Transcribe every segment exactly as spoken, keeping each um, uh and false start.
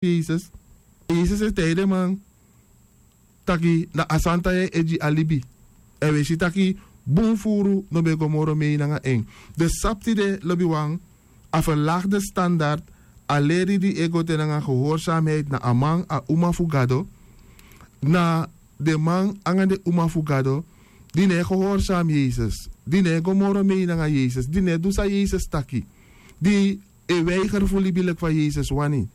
yesus. Yesus e taigi den man taki na a santa yeye e gi a libi. Èn wi e si taki bun furu no ben go moro mei nanga en. Den sabi tide lobiwan, a ferlagi den standard, a leri di e go te nanga gehoorsamheid na a man a uma fu gado, na den man nanga den uma fu gado di no e gehoorsam yesus, di no e go moro mei nanga yesus, di no e du san yesus taki, di e weiger fu libi leki fa yesus wani,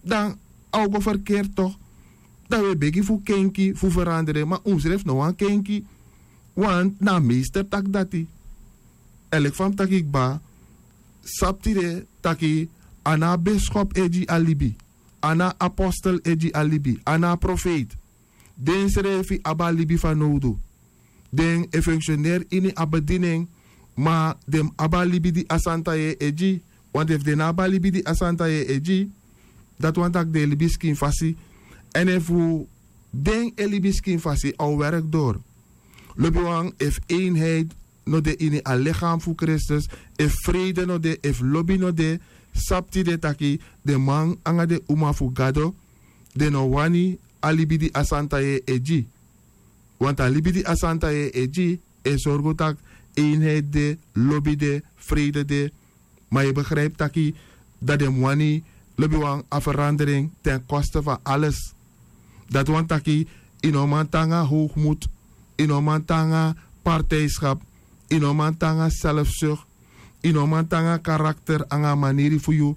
dan a o go ferkeri tok'. Dan wi e begi fu kenki fu ferandere ma unsrefi no wani kenki. Want na a meester taki dati. Èn leki fa mi taki kba, sabi tide taki a no a beskop e gi a libi, a no a apostel e gi a libi, a no a profeiti. Den srefi abi a libi fanowdu. Den e funksioneri ini a bedini en, ma den mus abi a libi di a santa yeye e gi. Want efu den no abi a libi di a santa yeye e gi, dati wani tak' den e libi skin fasi. Èn efu den e libi skin fasi a o werki dori. Lobiwan, efu einheit no de ini a lichaam fu kristus, efu freide no de, efu lobi no de, sabi tide taki den man nanga den uma fu gado, den no wani a libi di a santa yeye e gi. Want a libi di a santa yeye e gi e sorgu tak' einheit de, lobi de, freide de. Ma yu e begripi taki dati den mus wani, lobiwan, a ferandering ten koste fu a ales. Dati wani taki yu no man tan nanga howgmut, yu no man tan nanga partijskap, yu no man tan nanga selfsuk, yu no man tan nanga karakter nanga a maniri fu yu.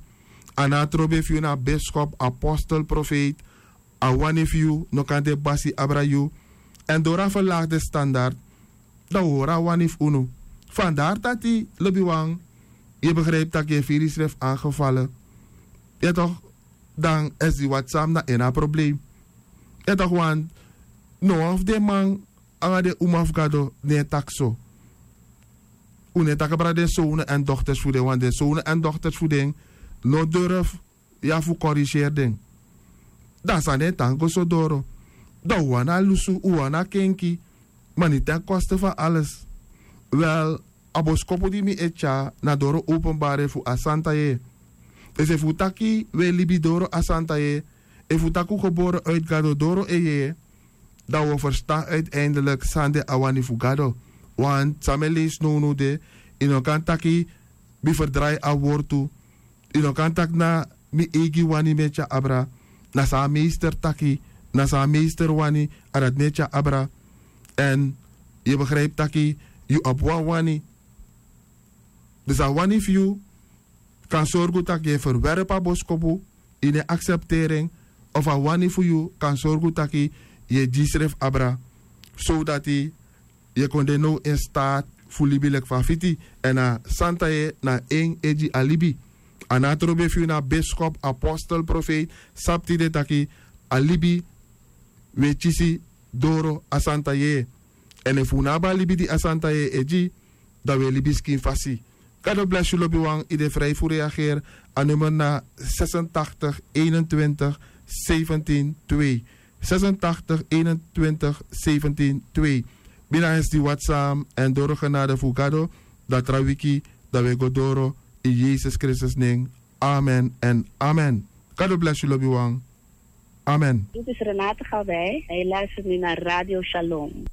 A no a trobe fu yu na a beskop, apostel, profeiti. A wani fu yu no kan de basi abra yu. Èn dori a ferlagi den standard, dan wi hori a wani fu unu. Fandari dati lobiwan, yu e begripi tak' yu e firi yusrefi angefale. Ya tok'? Dan èsi di wati san mi na en na a problem. Ya tok'? Want no wan fu den man nanga den uma fu gado no e taki so. Un no e taki abra den sownu èn dokters fu den, want den sownu èn dokters fu den no durfu ya fu koriseri den. Dan san den e tan go so doro? Dan un wani a lusu, un wani a kenki. Ma ni ten koste fu a ales. Wel, a boskopu di mi e tyari na doro openbare fu a santa yeye. Efu un taki un e libi doro a santa yeye, efu un taki un gebore uitu gado doro en yeye, dan un o ferstan uiteindelik san de a wani fu gado. Want san mi e leisi nownow de, yu no kan taki mi ferdrai a wortu. Yu no kan taki na mi eigi wani mi e tyari abra. Na san a meester taki, na san a meester wani, a dati mi e tyari abra. Èn yu e begripi taki yu abi wan wani. Dus a wani fu yu kan sorgu tak' yu e ferwerpi a boskopu, yu no e aksepteri en. Of a wani fu yu kan sorgu tak' yu e gi yusrefi abra, sowdati yu e kon de now in staat fu libi leki fa a fiti. Èn a santa yeye na en e gi a libi. A no a trobe fu yu na beskop, apostel, profeiti. Sabi tide tak' a libi wi e kisi doro a santa yeye. Èn efu un no abi a libi di a santa yeye e gi, dan wi e libi skin fasi. Gado blesi yu lobiwan, yu de fri fu reageri. A nummer na zesentachtig eenentwintig zeventien twee. Zesentachtig eenentwintig zeventien twee. Bina esi di whatsapp èn doro genade fu gado, dan tra wiki, dan wi e go doro. In yesus kristus nen. Amen èn amen. Gado blesi yu lobiwan. Amen. Dit is Renate Gawij en je luistert nu naar Radio Shalom.